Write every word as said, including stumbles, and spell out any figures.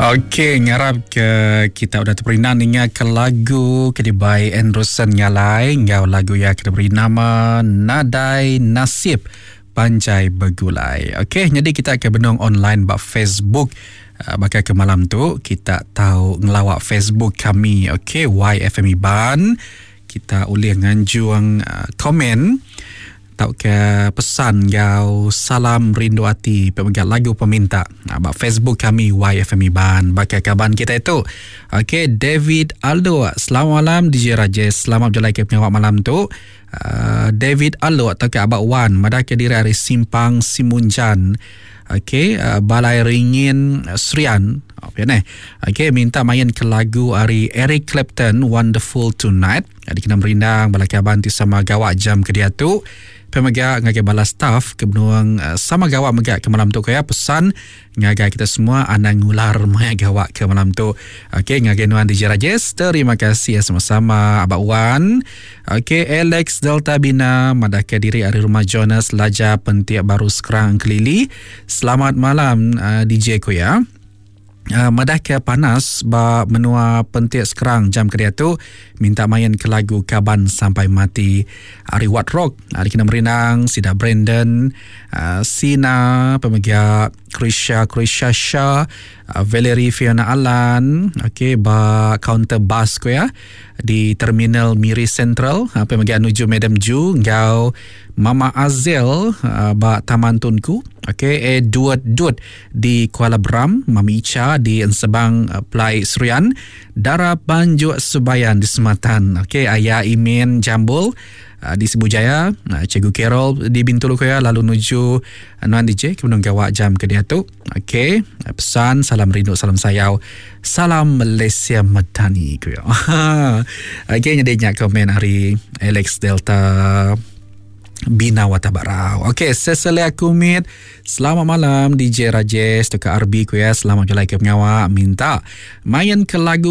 Okey, ngarap ke kita udah teperindang ninga ke lagu ke dibai Anderson Ngalai enggau lagu iya ke diberi nama Nadai Nasib Panjai Begulai. Okey, nyadi kita ke benung online ba Facebook uh, baka ke malam tu kita tau ngelawa Facebook kami, okey, Y F M Iban. Kita ulih nganjung uh, komen tauka pesan enggau salam rindu ati pemegat lagu peminta ba Facebook kami Y F M Iban. Baka kaban kita itu. Okey, David Aldo. Selamat malam D J Rajesh. Selamat berjalan ke pengawak malam tu. Uh, David Aldo atau ke Abak Wan madah ke diri hari Simpang Simunjan. Okey, uh, Balai Ringin Serian. Apa ni? Okey, minta main ke lagu hari Eric Clapton Wonderful Tonight. Jadi kena merindang bala kaban ti sama gawak jam ke dia tu. Pemega ngagai bala staff ke benuang sama gawak mega ke malam tu kaya pesan ngagai kita semua anang ngular maya gawak ke malam tu. Okey, ngagai nuan D J Rajesh, terima kasih ya sama-sama Abak Wan. Okey, Alex Delta Bina madah ke diri ari rumah Jonas Laja Pentiak Baru Sekerang Kelili. Selamat malam uh, D J ku ya. Uh, madah ke panas ba menua Pentiak Sekerang jam ke dia tu minta main ke lagu Kaban Sampai Mati ari Wat Rock. Ari kena merindang sida Brandon, uh, Sina, pemegia Krisha Krisha Shah, uh, Valerie Fiona Alan, okey ba counter bus ko ya di Terminal Miri Central, uh, pemegia nuju Madam Ju ngau Mama Azel uh, ba Taman Tunku, okey Edward Dut di Kuala Beram, Mami Icha di Ensebang uh, Plai Serian, Dara Panjuk Sebayan di Sematan, okey Ayah Imin Jambul uh, di Sibu Jaya, uh, Cikgu Carol di Bintulu Koya, lalu nuju uh, Nuan D J kemudian gawak jam ke dia tu. Okey, pesan salam rindu, salam sayau, salam Malaysia Madani ku ya. Okey, jadi nyak komen hari Alex Delta Bina Watabarau. Okey, Cecilia Kumit. Selamat malam D J Rajesh, Tuka R B ku ya. Selamat jalan ke pengawak. Minta main ke lagu